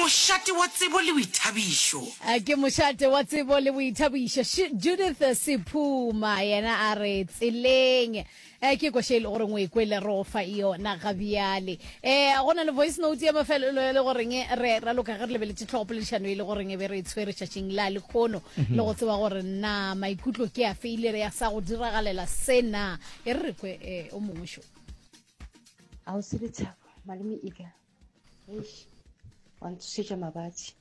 Mošate wa tsebo le boithabišo. Ke mošate wa tsebo le boithabišo. Judith Sephuma yena a re tseleng. Ke koša e le goreng o e kwele re go fa yona ga bjale. Go na le voice note ya mafelelo e le goreng re raloka ge re lebeletše tlhogopoledišano e le goreng e be re e tshwere tšatšing la lekgono le go tseba gore na maikutlo ke afe ile re ya sa go diragalela se na. E re re kwe o mongwe šo. Ausi Lethabo, malome Ika, eish, wa ntsošetša mabatši.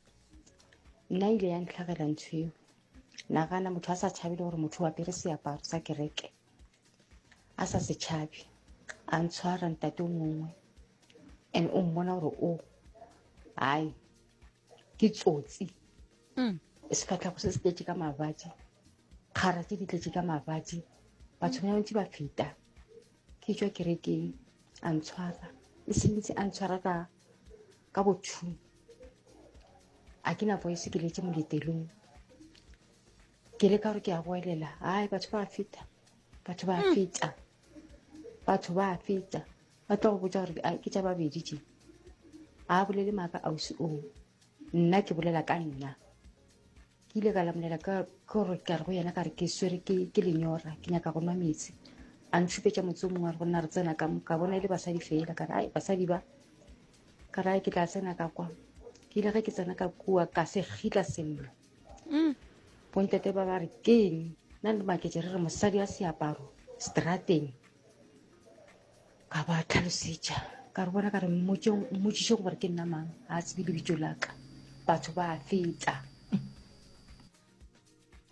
Nna ile ya ntlhagela ntho eo. Nagana motho a sa tšhabe le gore motho o apere seaparo sa kereke. A sa se tšhabe. A ntshwara ntate o mongwe. And o mmona gore o, hai, ke tsotsi. Mm. Sefahlego se se tletše ka mabatši. Kgara tše di tletše ka mabatši. Batho ba bantši ba feta. Ke tšwa kerekeng a ntshwara e sentse a ntshwara ka ka bothu a ke na voice ke letse moletelong ke le ka gore ke a goelela ai batho ba feta batho ba hmm. feta batho ba feta ba tlo go botsa gore ke tša babedi tše a bolele maaka ausi oo nna ke bolela ka nna Ke ile ka lamolela ka gore ka re go yena ka re ke swere ke ke lenyora ke nyaka go nwa meetse. A ntšhupetša motse o mongwe a re go nna re tsena ka mo ka bona e le basadi fela ka re ai basadi ba ka re ai ke tla tsena ka kwa. Ke ile ge ke tsena ka kua ka se gitla sello. Mm. Bontate ba ba re keng nna le maketše re re mosadi wa seaparo strateng. Ka ba tlhalosetša ka re bona ka re mmotšiše gore ke nna mang ga a tsebe lebitso la ka batho ba feta.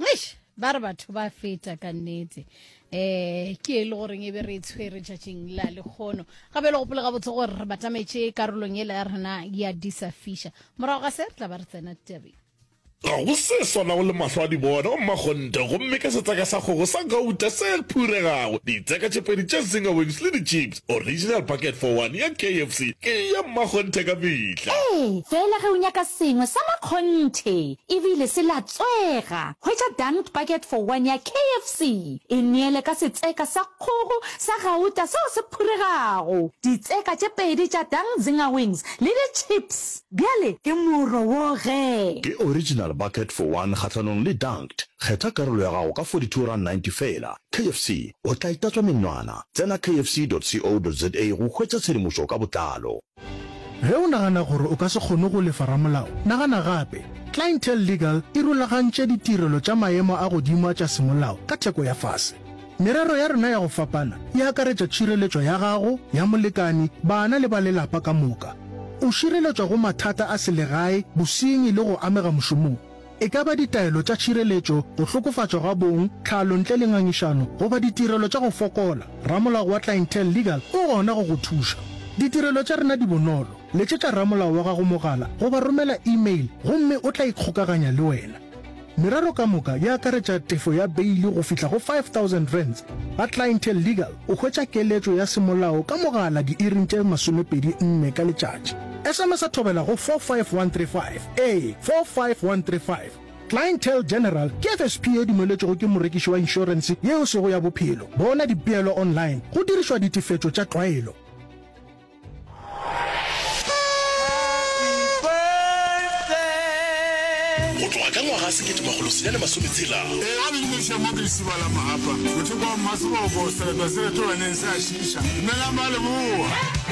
Eish, ba re batho ba feta ka nnete eh ke e le goreng e be re e tshwere tšatšing la lekgono gape le gopole gabotse gore re batametše karolong ela ya rena ya disa fisha morago ga se re tla ba re tsena tabeng Ga go se swanago le mahlo a di bona, o mmakgonthe, gomme ka setseka sa kgogo sa gauta se phuregago, ditseka tše pedi tša Zinger Wings le di-chips, original bucket for one ya KFC ke ya mmakgonthe ka mehla. Ee, feela ge o nyaka sengwe sa makgonthe e bile se latswega, hwetša Dunked Bucket for One ya KFC. E neele ka setseka sa kgogo sa gauta seo se phuregago, ditseka tše pedi tša Dunked Zinger Wings le di-chips. Bjale ke moro wo ge. Ke original bucket for one kgahlanong le dunked. Kgetha karolo ya gago ka R42.90 feela. KFC, o tla itatswa menwana. Tsena kfc.co.za go hwetša tshedimošo ka botlalo. Ge o nagana gore o ka se kgone go lefa ramolao, nagana gape. Clientele Legal e rulagantše ditirelo tša maemo a godimo a tša semolao ka theko ya fase. Merero ya rena ya go fapana e akaretša tšhireletšo ya gago, ya molekani, bana le ba lelapa ka moka. O šireletšwa go mathata a selegae, bosenyi le go amega mošomong. E ka ba ditaelo tša tšhireletšo, go hlokofatšwa ga bong, tlhalo ntle le ngangišano goba ditirelo tša go fokola, ramolao wa Clientele Legal o gona go go thuša. Ditirelo tša rena di bonolo, letšetša ramolao wa gago mogala goba romela e-mail gomme o tla ikgokaganya le wena. Merero ka moka e akaretša tefo ya beili go fihla go R5000. Ga Clientele Legal o hwetša keletšo ya semolao ka mogala diiring tše 24 ka letšatši. SMS-a thobela go 45135, ee, 45135. Clientele General ke FSP ye dumeletšwego ke morekiši wa inšorense ye e sego ya bophelo. Bona dipeelo online go dirišwa ditefetšo tša tlwaelo. Go tloga ka ngwaga 1960. Ee, a le dumediša mo ke lesiba la Mahapa, mothoko wa Mmaseboko, sereto se retolwaneng se a šiiša. Dumelang ba Leboa!